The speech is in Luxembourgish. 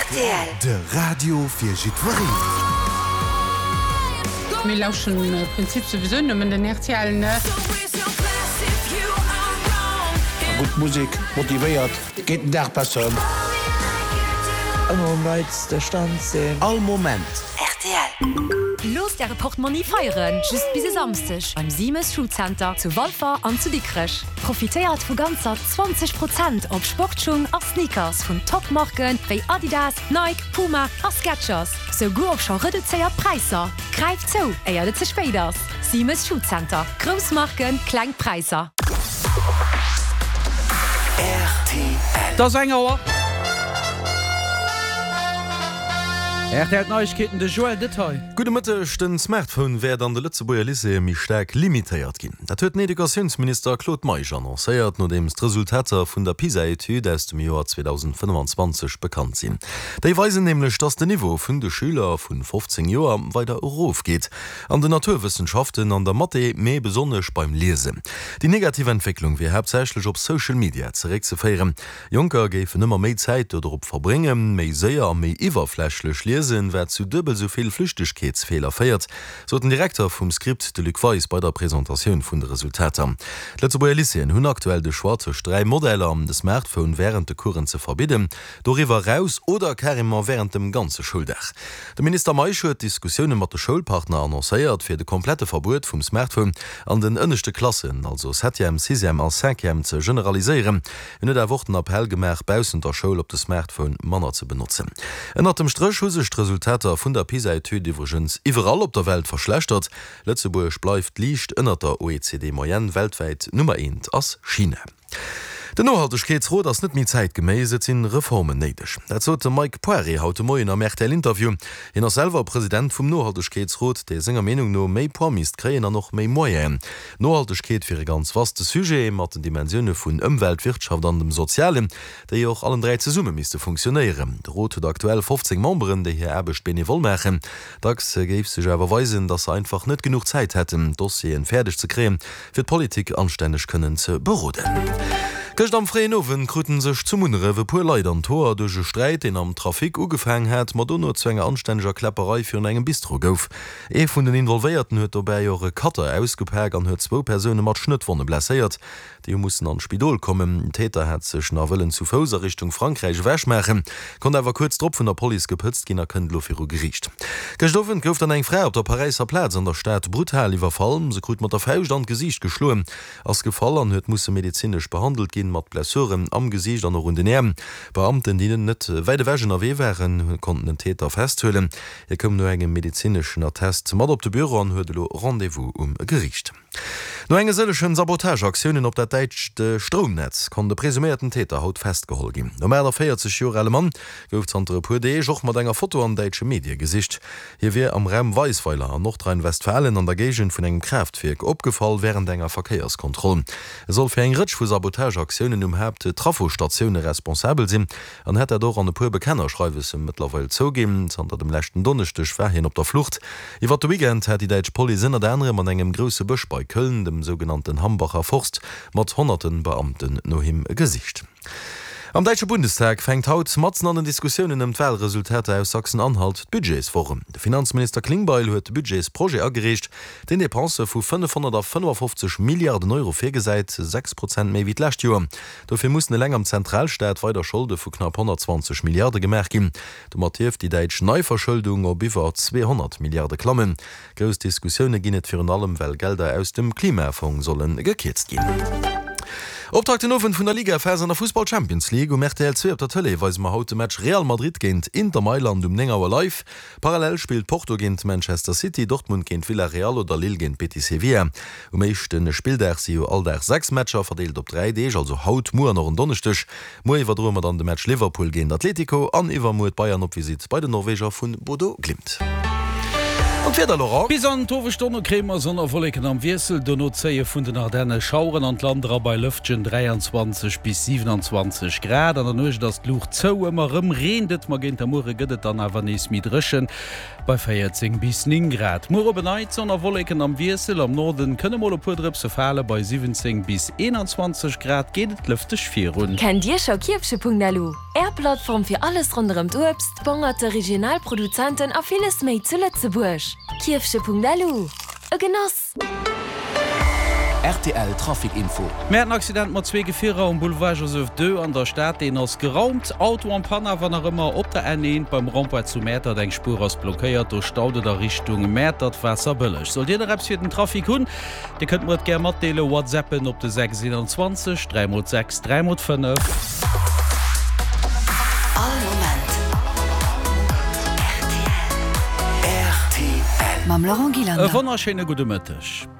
Rtl. De Radio fir jiddwereen. Mir lauschen am Prinzip souwisou nëmmen den rtl, ne? Gutt Musek motivéiert, geet den Dag besser ëm. Ëmmer um neitste Stand sinn. All Moment. Rtl. Loosst Äre Portmonni feieren, just bis e Samsdeg beim Simes Schuhcenter zu Walfer an zu Dikrech. Profitéiert vu ganzer 20 Prozent op Sportschung a Sneakers vun Top-Marken wéi Adidas, Nike, Puma a Skechers, souguer op scho reduzéiert Präisser. Gräift zou, éiert et ze spéit ass! Simes Schuhcenter, grouss Marken, kleng Präisser. Rtl. Et ass eng Auer. Rtl Neiegkeeten, de Joël Detaille. Gudde Mëtteg, Den Smartphone wäert an de Lëtzebuerger Lycéeë méi staark limitéiert ginn. Dat huet den Educatiounsminister Claude Meisch annoncéiert, nodeems d'Resultater vun der PISA-Etüd aus dem Joer 2025 bekannt sinn. Déi weisen nämlech, datt den Niveau vun de Schüler vu 15 Joer weider erofgeet, an den Naturwëssenschaften, an der Mathé, mee besonnesch beim Liesen. Déi negativ Entwécklung wier haaptsächlech op Social Media zeréckzeféieren. Jonker géifen ëmmer méi Zäit dodrop verbréngen, méi séier a méi iwwerflächlech liesen, wat zu duebel sou vill Flüchtegkeetsfeeler féiert, sot den Direkter vum Script, de Luc Weis, bei der Presentatioun vun de Resultater. D'Lëtzebuerger Lycéeën hunn aktuell de Choix tëscht 3 Modeller, de Smartphone wärend de Coursen ze verbidden, doriwwer eraus oder carrément wärend dem ganze Schouldag. De Minister Meisch huet Diskussioune mat de Schoulpartner annoncéiert, fir de komplette Verbuet vum Smartphone an den ënneschte Klassen, also Septième, Sixième a Cinquième, ze generaliséieren. Hien huet awer och den Appell gemaach, baussent der Schoul op de Smartphone manner ze benotzen. Ënnert dem Stréch hu sech d'Resultater vun der PISA-Etüd iwwregens iwwerall op der Welt verschlechtert. Lëtzebuerg bleift liicht ënnert der OECD-Moyenne, weltwäit Nummer eent ass China. Den Nohaltegkeetsrot ass net méi zäitgeméiss, et sinn Reformen néideg. Dat sot de Mike Poiré haut de Moien am RTL-Interview. Hien ass selwer President vum Nohaltegkeetsrot, dee senger Meenung no méi Poids misst kréien an och méi Moyenen. Nohaltegkeet wier e ganz vaste Sujet, mat den Dimensioune vun Ëmwelt, Wirtschaft an dem Sozialen, déi och allen 3 zesumme misste funktionéieren. De Rot huet aktuell 15 Memberen, déi hir Aarbecht benevol maachen. Dacks géif sech awer weisen, datt se einfach net genuch Zäit hätten, d'Dossieren fäerdeg ze kréien, fir d'Politik anstänneg kënnen ze beroden. Gëscht am fréien Owend kruten sech zu Munneref e puer Leit an d'Hoer duerch e Sträit, deen am Trafic ugefaang hat, ma dono zu enger anstänneger Kläpperei virun engem Bistro gouf. Ee vun den Involvéierten huet dobäi och e Cutter ausgepak an huet zwou Persoune mat Schnëttwonne blesséiert. Déi hu mussen an d'Spidol kommen. Den Täter hat sech nach wëllen zu Fouss a Richtung Frankräich ewechmaachen, konnt awer kuerz drop vun der Police gepëtzt ginn a kënnt elo viru Geriicht. Gëscht Owend gouf dann eng Fra op der Paräisser Plaz an der Stad brutal iwwerfall. Se krut mat der Fauscht an d'Gesiicht geschloen, ass gefall an huet musse medezinesch behandelt ginn, mat Blessuren am Gesiicht an och un den Äerm. Beamten, déi net wäit ewech ënnerwee waren, konnten den Täter festhuelen. Hie koum no engem medezineschen Attest mat op de Büro an huet elo Rendez-vous um Geriicht. No enge sëllechen Sabotageaktiounen op dat däitscht Stroumnetz konnt e presuméierten Täter haut festgeholl ginn. Nom 48 Joer ale Mann gouf zanter e puer Deeg och mat enger Foto an däitsche Medie gesicht. Hie wier am Raum Weisweiler an Nordrhein-Westfalen an der Géigend vun engem Kraaftwierk opgefall wärend enger Verkéierskontroll. E soll fir eng Rëtsch vu Sabotageaktiounen um Haapt-Trafosstatioune responsabel sinn. An hätt dat och an e puer Bekennerschreiwesse mëttlerweil zouginn. Zanter dem leschten Donneschdeg war hien op der Flucht. Iwwer de Weekend hat déi däitsch Police ënnert anerem an engem grousse Bësch bei Köln, dem sougenannten Hambacher Forst, mat honnerte Beamten no him gesicht. Am däitsche Bundestag fänkt haut matzen an den Diskussiounen ëm d'Walresultater aus Sachsen-Anhalt d'Budgetswoch un. De Finanzminister Klingbeil huet de Budgetsprojet agereecht, deen Depensë vu 555 Milliarden Euro virgesäit, 6 Prozent méi wéi d'lescht Joer. Dofir mussen eleng am Zentralstaat weider Scholde vu knapp 120 Milliarde gemaach ginn. Domat dierft déi däitsch Neiverschëldung op iwwer 200 Milliarde klammen. Grouss Diskussioune ginn et virun allem, well Gelder aus dem Klimafong solle gekierzt ginn. Optakt den Owend vun der Ligaphas an der Fussball Champions League. Um rtl 2 op der Tëlee weise mer haut de Match Real Madrid géint Inter Mailand um 9 Auer live. Parallel spillt Porto géint Manchester City, Dortmund géint Villarreal oder Lille géint Betis Sevilla. Um éischte Spilldag si jo all Dag 6 Matcher, verdeelt op 3 Deeg, also haut, muer an och en Donneschdeg. Muer iwwerdroe mer dann de Match Liverpool géint Atletico an iwwermuer d'Bayern op Visitt bei den Norweger vun Bodo Glimt. An d'Wieder, Laurent? Bis an d'Owesstonne kréie mer Sonn a Wolleken am Wiessel, dono zéie vun den Ardenne Schaueren an d'Land era bei lëftegen 23 bis 27 Grad. An der Nuecht ass d'Luucht zou, ëmmer rëm reent et, ma géint der Muere gëtt et dann awer nees méi dréchen bei 14 bis 9 Grad. Muer op en Neits Sonn a Wolleken am Wiessel, am Norden kënne mol e puer Drëpse fale, bei 17 bis 21 Grad geet et lëfteg virun. Kennt Dir scho Kierfche.lu? Är Plattform fir alles ronderëm d'Uebst, d'Bongerte, regional Produzenten a villes méi zu Lëtzebuerg. Kierfche.lu, E Genoss! Rtl Trafic Info. Mir haten Accident mat zwee Gefierer um Boulevard Joseph ii an der Stad. Deen ass geraumt. Auto en panne awer nach ëmmer op der N1 beim Rond-point zu Mäertert. Eng Spuer ass blockéiert. Do staut et a Richtung Mäertert-Waasserbëlleg. Sollt Dir nach eppes fir den Trafic hunn, Dir kënnt mer et gär matdeelen, WhatsAppen op de 6 21 3 mol 6 3 mol 5. All Moment rtl. Mam Laurent Gillander. E wonnerschéine gudde Mëtteg.